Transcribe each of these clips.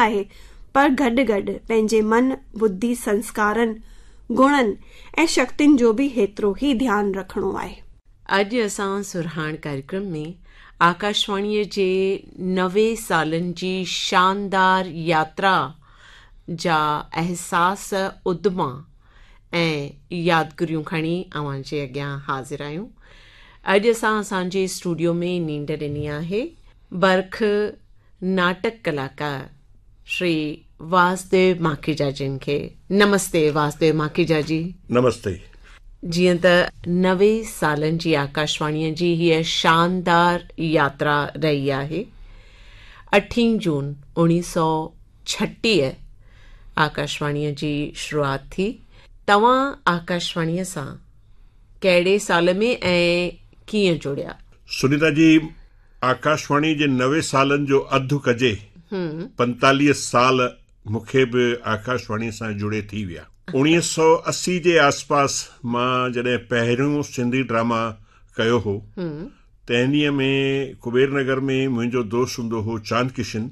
آهي پر گڏ گڏ پنهنجي من، ٻڌي، سنسڪارن، گڻن ۽ شڪتين جو به هيترو ئي ڌيان رکڻو آهي. اڄ اسان سرهاڻ ڪاريڪرم ۾ آڪاشواڻيء جي 90 سالن جي شاندار ياترا جا احساس، اڌما ۽ يادگيريون کڻي اوهان جي اڳيان حاضر آهيون. اڄ اسان اسان جي اسٽوڊيو ۾ نينڍ ڏني آهي برک ناٽڪ ڪلاڪار شري واسديو ماکيجا جن کي. نمستي واسديو ماکيجا جي. نمستي. جيئن ته 90 سالن جي آڪاشواڻيء جي هيء شاندار ياترا رهي آهي. اٺين جون 1936 آڪاشواڻيء جي شروعات ٿي. توهان آڪاشواڻيء سان ڪهڙي سال ۾ ۽ ڪيئن جڙيا؟ سنيتا جي، آڪاشواڻي جي 90 سالن جو اڌ ڪجي 45 سال مون کي به آڪاشواڻي سان جڙي ٿي ويا. 1980 جي آسپاس مان جڏهن پهريون سنڌي ڊراما ڪيو هو تنهن ڏينهن ۾ ڪبير نگر ۾ منهنجو دوست هوندو هو چاند ڪشن،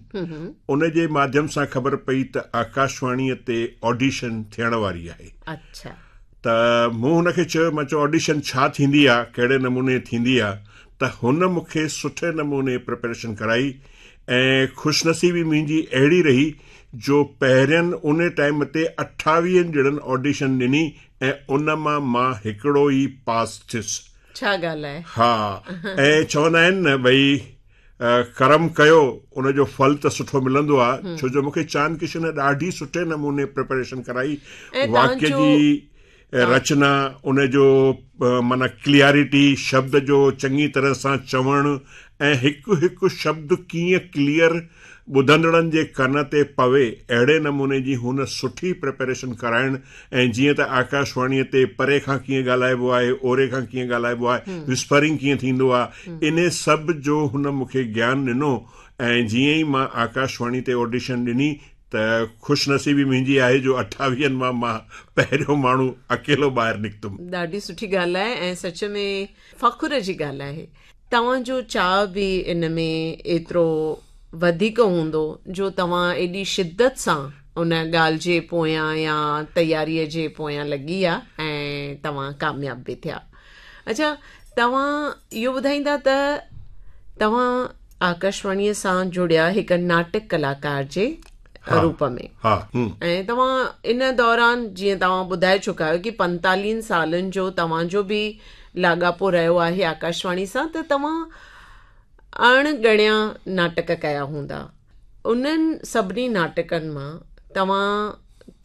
ان جي ماڌيم سان خبر پئي ته آڪاشواڻيء تي آڊيشن ٿيڻ واري آهي. اڇا. ته مون هن کي چيو، مان چيو آڊيشن ڇا ٿيندي آ، ڪهڙي نموني ٿيندي آ، ته هن مون کي سٺي نموني پريپريشن ڪرائي ۽ خوشنصيبي منهنجي اهڙي رهي جو پهرين ان ٽائيم تي اٺاويهن ڄڻن آڊيشن ڏني ۽ ان مان مان هڪڙو ئي پاس ٿيس. ڇا ڳالهه آهي. ها ۽ چوندا آهن نه ڀئي ڪرم ڪيو ان جو ڦل ته سٺو ملندو آ ڇو جو مونکي چاند ڪشن ڏاڍي سٺي نموني پريپريشن ڪرائي واڪيه جي رچنا ان جو معنيٰ ڪليئرٽي شبد جو چڱي طرح سان چوڻ ۽ هڪ هڪ شبد ڪيئن ڪليئر ٻڌندڙن جي ڪن تي پوي اهڙي نموني جي هن سٺي پريپريشن ڪرائڻ ۽ جيئن ته آڪاشواڻيء تي پري کان ڪيئن ڳالهائبو آهي، اوري کان ڪيئن ڳالهائبو آهي، وسپرنگ ڪيئن ٿيندو آهي، انهي سڀ جو هن مون کي گيان ڏنو ۽ جيئن ئي مان آڪاشواڻي تي آڊيشن ڏني ته خوش نصيبي منهنجي آهي جو اٺاويهن مان مان پهريون ماڻهو اڪيلو ٻاهر نڪتم. ڏاڍي سٺي ڳالهه آهي ۽ سچ ۾ فخر جي ڳالهه آهي. توهان جو چاهه به ان ۾ ايترو وڌيڪ هوندو جو توهان ايڏي شدت سان ان ڳالهه جي پويان يا تياريء جي پويان لڳي ويا ۽ توهان ڪامياب به ٿيا. اڇا توهان اهو ٻڌائيندا ته توهان آڪاشواڻيء سان جڙيا هڪ ناٽڪ ڪلاڪار جي روپ ۾. ۽ توهان ان دوران جيئن توهان ٻڌائي چڪا آهيو ڪي پنتاليهن سالن جو توهان جو به لاڳاپو رهيو آهي آڪاشواڻي سان ته توهان اڻ ڳڻيا ناٽڪ ڪيا هوندا. انهن سڀني ناٽڪن مان توهان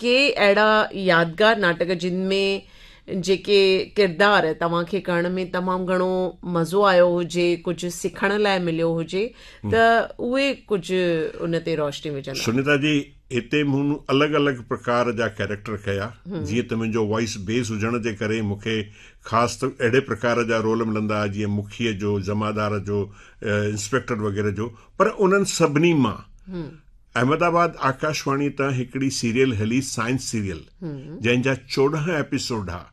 ڪي اهڙا يادگار ناٽڪ جن ۾ جيڪي ڪردار توهان کي ڪرڻ ۾ تمام گهڻو مزو آيو هجي، ڪجهه سکڻ لاء مليو هجي ته اهي ڪجهه ان تي روشني وجهندا. سنيتا جي، هتي مون الڳ الڳ پرڪار جا ڪيريڪٽر ڪيا، جيئن ته منهنجو وائس بيس هجڻ جي ڪري مون کي خاص ته اهڙي پرڪار جا رول ملندا جيئن مکيء جو، جمعدار جو، انسپيڪٽر وغيره جو، پر انهن سڀني مان احمد آباد آڪاشواڻي تان هڪڙي سيريل هلي سائنس سيريل جنهن جا 14 ايپيسوڊ ها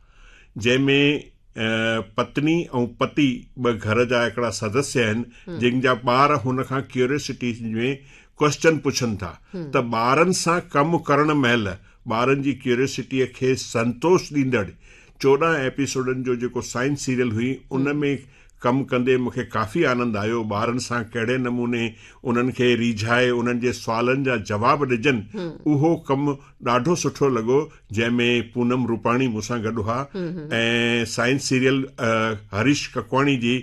جنهن ۾ پتني ۽ پتي ٻه گهر جا هڪڙا سدسيه آهن جن جا ٻار هن کان ڪيوريوسٽي ۾ ڪوئسچن پڇن ٿا ته ٻارن سان ڪم ڪرڻ مهل ٻارن جي ڪيوريوسٽيء کي سنتوش ڏيندڙ 14 ايپيسوڊن جو جيڪو سائنس سيريل هئي ان ۾ ڪم ڪندي مون کي ڪافي آنند آيو، ٻارن سان ڪهڙي نموني انهن کي ريجهائي انهن جي سوالن جا جواب ڏجن اهو ڪم ڏاڍو سٺو لڳو جنهن ۾ پونم روپاڻي مون سان گڏ هئا ۽ سائنس سيريل هريش ڪڪواڻي جي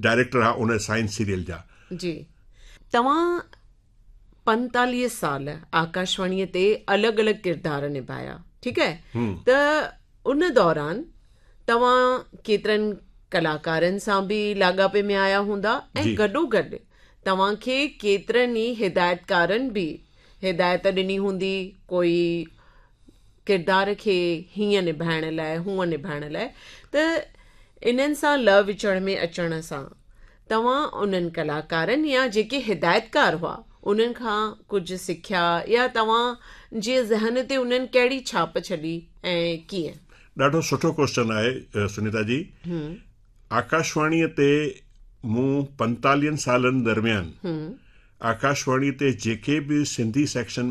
ڊائريڪٽر ها ان سائنس سيريل جا. جي توهان 45 سال آڪاشواڻيء تي الڳ الڳ ڪردار نڀايا ٺيڪ آهي ته ان دوران توهان ڪيترن ڪلاڪارن سان به لاڳاپي ۾ آيا هوندا ۽ گڏو گڏ توهان کي ڪيترن ئي هدايتڪارن به هدايت ڏني هوندي ڪوئي ڪردار کي هيئن نڀائڻ لاء هونئن نڀائڻ لاء ته انهن سان لهه وچڙ ۾ اچڻ سان توهان انهن ڪلاڪارن يا جيڪي هدايتڪار هئا انهن کان ڪجهه سکيا يا توهان جي ذهن تي انهن ڪهڙي ڇاپ ڇڏي ۽ ڪيئن؟ ڏاڍو سٺو ڪوئسچن آهي سنيتا جي. آڪاشواڻيء تي مون پنتاليهن سالن درميان آڪاشواڻيء تي جيڪي به سنڌي سيڪشن.